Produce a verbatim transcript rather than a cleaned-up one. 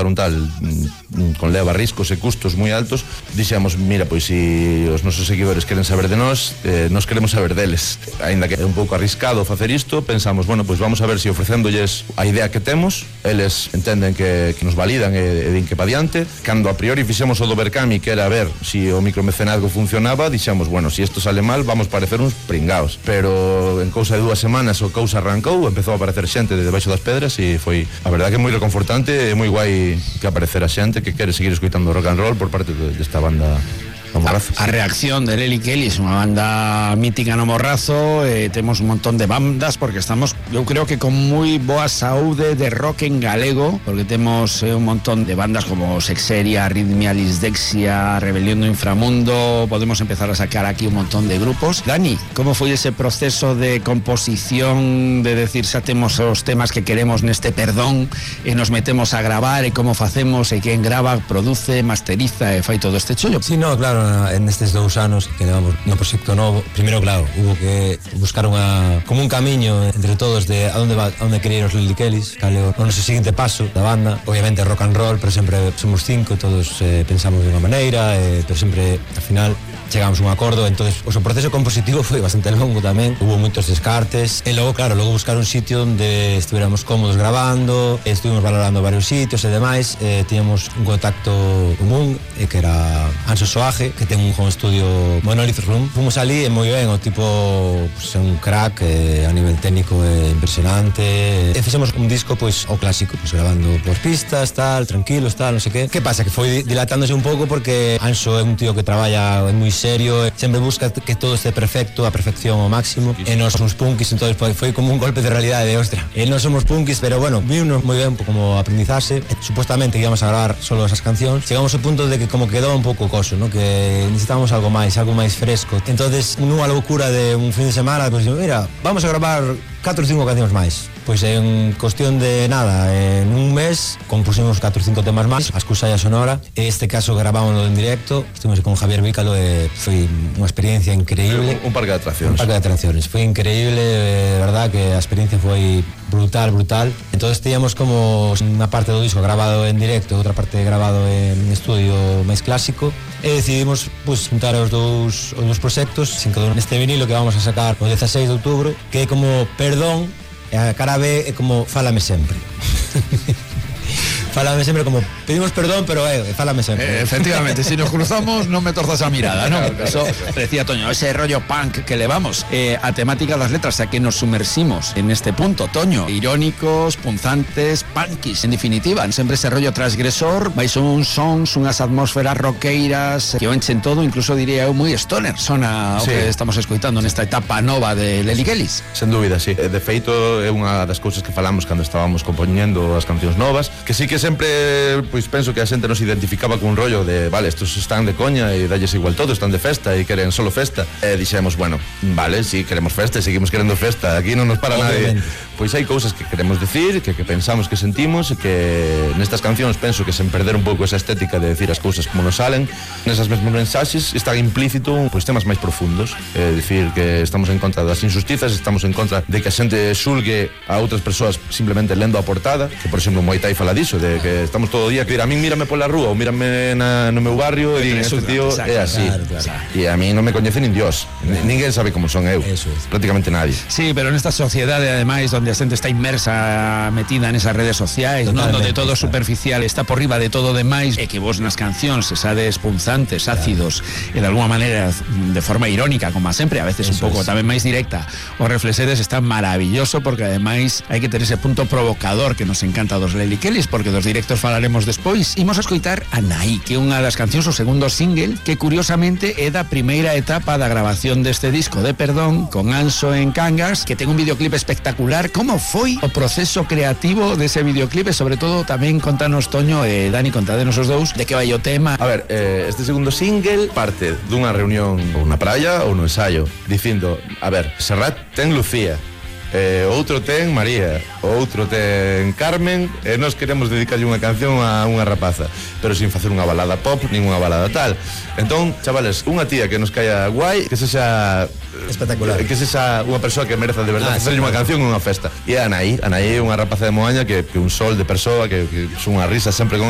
un tal con leva riscos e custos moi altos, dixemos, mira, pois se os nosos seguidores queren saber de nós, eh, nós queremos saber deles. Ainda que é un pouco arriscado facer isto, pensamos, bueno, pois vamos a ver se ofrecéndolles a idea que temos, eles entenden que, que nos validan e, e din que pa diante. Cando a priori fixemos o do Berkami, que era a ver se o micromecenazgo funcionaba, dixemos, bueno, se isto sale mal, vamos parecer uns pringaos. Pero en cousa de dúas semanas o cousa arrancou, empezou a aparecer xente de debaixo das pedras e foi, a verdade, que moi reconfortante e moi guai que aparecera xente que quere seguir escoitando rock and roll por parte desta banda do Morrazo. A, a reacción de Lely Kellys, unha banda mítica no Morrazo, eh, temos un montón de bandas porque estamos, eu creo que con moi boa saúde de rock en galego, porque temos eh, un montón de bandas como Sexeria, Arritmia, Lisdexia, Rebelión do Inframundo. Podemos empezar a sacar aquí un montón de grupos. Dani, como foi ese proceso de composición, de decir, xa temos os temas que queremos neste perdón e nos metemos a gravar, e como facemos, e quen grava, produce, masteriza e fai todo este chollo? Sí, no, claro, en estes dous anos que levamos no proxecto novo, primeiro, claro, hubo que buscar unha, como un camiño entre todos de a onde va, a onde querer os Lely Kellys, cal é o noso seguinte paso da banda. Obviamente rock and roll, pero sempre somos cinco, todos eh, pensamos de unha maneira, eh, pero sempre, al final, chegamos a un acordo. Entonces, o proceso compositivo foi bastante longo tamén, hubo moitos descartes, e logo, claro, logo buscar un sitio onde estuviéramos cómodos grabando, estuvimos valorando varios sitios e demais, eh, tíamos un contacto común, eh, que era Anxo Soaje, que ten un home studio, Monolith Room. Fomos ali e moi ben, o tipo, pues, un crack, eh, a nivel técnico é eh, impresionante, e fixemos un disco, pois, o clásico, pues, grabando por pistas, tal, tranquilos, tal, non sei que. Que pasa? Que foi dilatándose un pouco porque Anxo é un tío que traballa moi serio, sempre busca que todo este perfecto, a perfección ao máximo, e nós somos punkis, entonces foi como un golpe de realidade de ostra. E nós somos punkis, pero bueno, vimos moi ben como aprendizaxe. Supuestamente íbamos a gravar solo esas cancións, chegamos ao punto de que como quedou un pouco coso, ¿no? Que necesitábamos algo máis, algo máis fresco. Entonces, nunha loucura de un fin de semana, pues, mira, vamos a gravar catro ou cinco cancións máis. Pois en cuestión de nada, en un mes compusimos catro ou cinco temas máis, a excusa ya sonora. Este caso gravámoslo en directo, estuvimos con Javier Vícalo e foi unha experiencia increíble. Un, un parque de atraccións. Un parque de atraccións, foi increíble, de verdad que a experiencia foi brutal, brutal. Entonces teníamos como unha parte do disco grabado en directo, outra parte grabado en estudio máis clásico, e decidimos pues, juntar os dous, os dous proxectos, sin cada un neste vinilo que vamos a sacar o dezaseis de outubro, que é como Perdón, e a cara B é como Fálame Sempre. Fálame sempre, como pedimos perdón, pero eh, fálame sempre. Eh, efectivamente, si nos cruzamos non me torzas a mirada, ¿no? Eso decía Toño, ese rollo punk que levamos, eh, a temática das letras, a que nos sumersimos en este punto, Toño, irónicos, punzantes, punkis, en definitiva, sempre ese rollo transgresor, vais uns sons, unhas atmósferas roqueiras que o enchen todo, incluso diría eu moi stoner, sona o sí. Que estamos escoitando nesta etapa nova de Lely Kellys. Sen dúbida, sí. De feito, é unha das cousas que falamos cando estábamos compoñendo as cancións novas, que sí que sempre, pois penso que a xente nos identificaba con un rollo de, vale, estos están de coña e dalles igual todo, están de festa e queren solo festa. E dixemos, bueno, vale, si sí, queremos festa e seguimos querendo festa, aquí non nos para nadie. Pois hai cousas que queremos decir, que, que pensamos que sentimos, e que nestas cancións penso que sen perder un pouco esa estética de decir as cousas como nos salen, nesas mesmas mensaxes está implícito pois temas máis profundos, é dicir que estamos en contra das injustizas, estamos en contra de que a xente xulgue a outras persoas simplemente lendo a portada, que por exemplo Muay Thai fala diso, de que estamos todo o día que dir a min mírame pola rúa ou mírame na, no meu barrio e din, este tío é así, claro, claro. E a mí non me coñece nin Dios, claro. Ninguén sabe como son eu, es. Prácticamente nadie. Sí, pero nesta sociedade ademais donde a xente está inmersa, metida nesas redes sociais, non, donde todo superficial está por riba de todo demais, e que vos nas cancións esades punzantes, ácidos, claro. E de alguma maneira de forma irónica, como sempre, a veces eso un pouco es. Tamén máis directa, os reflexeres está maravilloso, porque ademais hai que ter ese punto provocador que nos encanta dos Lely Kellys, porque dos directos falaremos despois. Imos a escoitar a Nai, que é unha das cancións, o segundo single, que curiosamente é da primeira etapa da grabación deste disco de Perdón, con Anxo en Cangas, que ten un videoclip espectacular. Como foi o proceso creativo dese videoclip? E sobre todo tamén contanos, Toño e Dani, contadenos os dous, de que vai o tema. A ver, eh, este segundo single parte dunha reunión ou na praia ou no ensayo, dicindo, a ver, Serrat ten Lucía, eh, outro ten María, outro ten Carmen, e nós queremos dedicarlle unha canción a unha rapaza, pero sin facer unha balada pop, nin unha balada tal. Entón, chavales, unha tía que nos caia guai, que sexa espectacular, que sexa unha persoa que mereza de verdade ah, facerlle sí, unha canción en unha festa. E a Anaí, Anaí é unha rapaza de Moaña que, que un sol de persoa, que, que son unha risa sempre con